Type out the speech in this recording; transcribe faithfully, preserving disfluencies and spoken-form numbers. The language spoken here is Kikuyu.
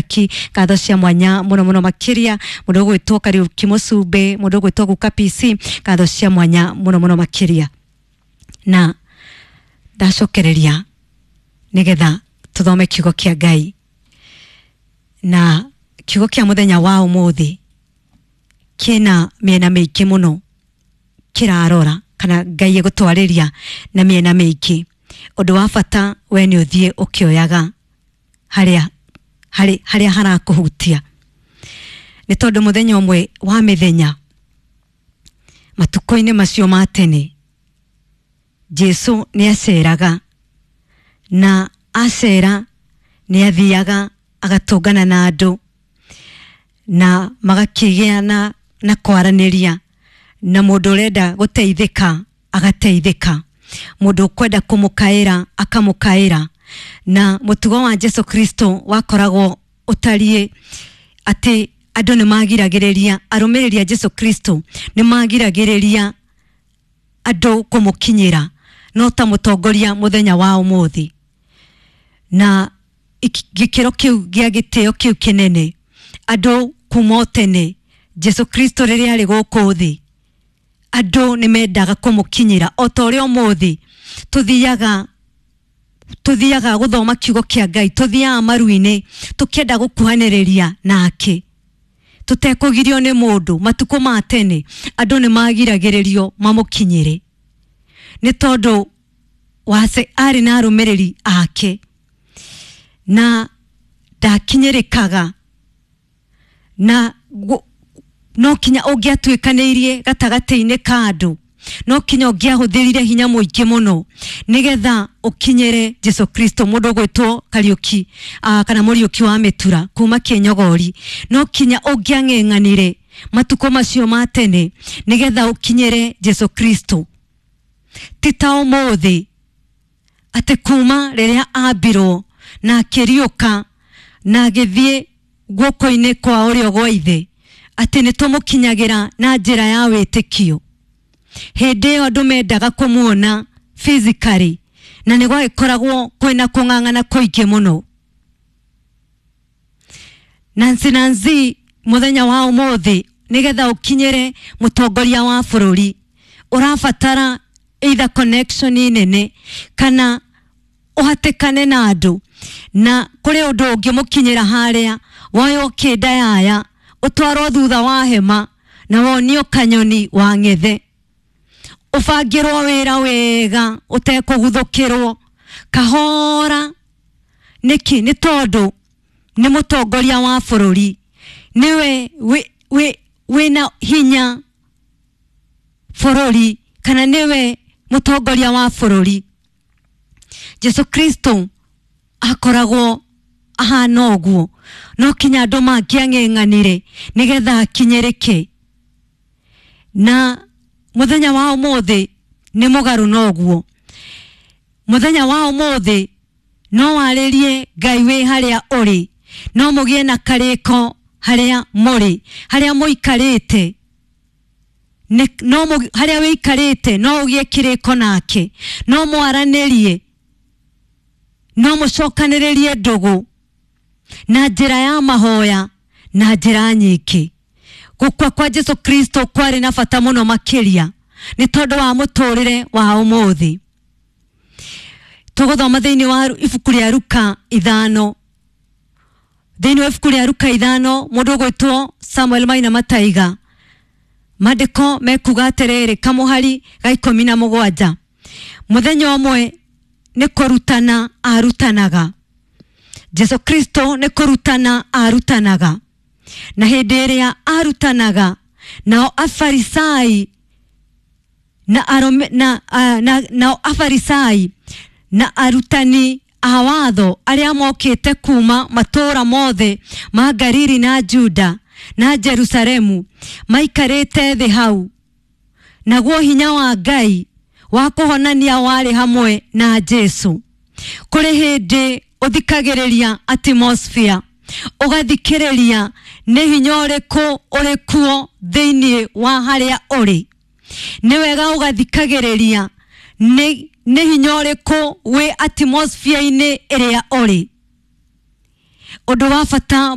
Kariuki, ngatho cia mwanya muno muno makiria mundu ugwitwo Kariuki Mucumbi, mundu ugwitwo Guka P C, ngatho cia mwanya muno muno makiria. Na ndacokereria nigetha tuthome kiugo kia Ngai, na kiugo kia muthenya wa umuthi kina miena miingi muno kirarora kana Ngai egutwariria na miena miingi. Undu wa bata we ni uthie ukioyaga haria hari haria harakuhutia, ni tondu muthenya umwe wa mithenya matuko-ini macio ma tene Jesu ni aceraga, na acera ni athiaga agatungana na andu na magakigĩa na na kwaraniria, na mundu urenda guteithika agateithika, mundu ukwenda kumukaira akamukaira. Na mutugo wa Jesu Kristo wakoragwo utarie ati andu ni magiragiriria, arumiriri a Jesu Kristo ni magiragiriria andu kumukinyira no ta mutongoria muthenya wa umuthi. Na gikiro kiu gia gitio kiu kinene andu kuma tene Jesu Kristo riria ari guku thi andu ni mendaga kumukinyira o ta uria umuthi tuthiaga tuthiaga guthoma kiugo kia Ngai, tuthiaga maru-ini tukienda gukuhaniriria nake tutekugirio ni mundu. Matuko ma tene andu ni magiragiririo mamukinyire ni tondu wase ari na arumiriri ake na ndakinyirikaga, na no kinya ungiatuikaniirie gatagati-ini ka andu, no kinya ungiahuthirire hinya muingi muno nigetha ukinyire Jesu Kristo. Mundu ugwitwo Kariuki uh, kana Muriuki wa Mitura kuma Kinyogori, no kinya ungiang'eng'anire matuko macio ma tene nigetha ukinyire Jesu Kristo. Ti ta umuthi ati kuma riria ambirwo na akiriuka na agithie guoko-ini kwa urio gwa ithe ati ni tumukinyagira na njira ya witikio. Hindi iyo andu mendaga kumuona physically na ni gwagikoragwo kwina kung'ang'ana kuingi muno. Nancy Nancy muthenya wa umuthi nigetha ukinyire mutongoria wa bururi urabatara either connection nene kana uhatikane na andu, na kuri undu ungimukinyira haria woyo kinda yaya utwarwo thutha wa hema na wonio kanyoni wa ng'ethe, ubangirwo wira wega utekũguthũkĩrwo kahora. Niki? Ni tondu ni mutongoria wa bururi, niwe wina hinya bururi kana niwe mutongoria wa bururi. Jesu Kristo akoragwo ahana ũguo, no kinya andu mangĩang'eng'anire nigetha akinyĩrĩke. Na muthenya wa umuthi ni mugaru noguo. Muthenya wa umuthi no waririe Ngai wi haria uri, no mugie na kariko haria muri, haria muikarite, no haria wikarite no ugie kiriko nake, no mwaranirie, no mucokaniririe ndugu na njira ya mahoya na njira nyingi. Gukua kwa Jesu Kristo kwari na bata muno makiria ni tondu wa muturire wa umuthi. Tuguthoma thiini wa ibuku ria Luka ithano, thiini wa ibuku ria Luka ithano mundu ugwitwo Samuel Maina Mataiga, mandiko mekuga atiriri kamuhari ga ikumi na mugwanja, muthenya umwe ni kurutana arutanaga. Jesu Kristo ni kurutana arutanaga, na hindi iria arutanaga nao afarisai na arome, na, na, nao afarisai na arutani a watho aria mokite kuma matura mothe ma Galili na Juda na Jerusalemu maikarite thi hau, naguo hinya wa Ngai wa kuhonania wari hamwe na Jesu. Kuri hindi uthikagiriria atmosphere, ugathikiriria ni hinya uriku uri kuo thiini wa haria uri. Ni wega ugathikagiriria ni ni hinya uriku wi atmosphere-ini iria uri. Undu wa bata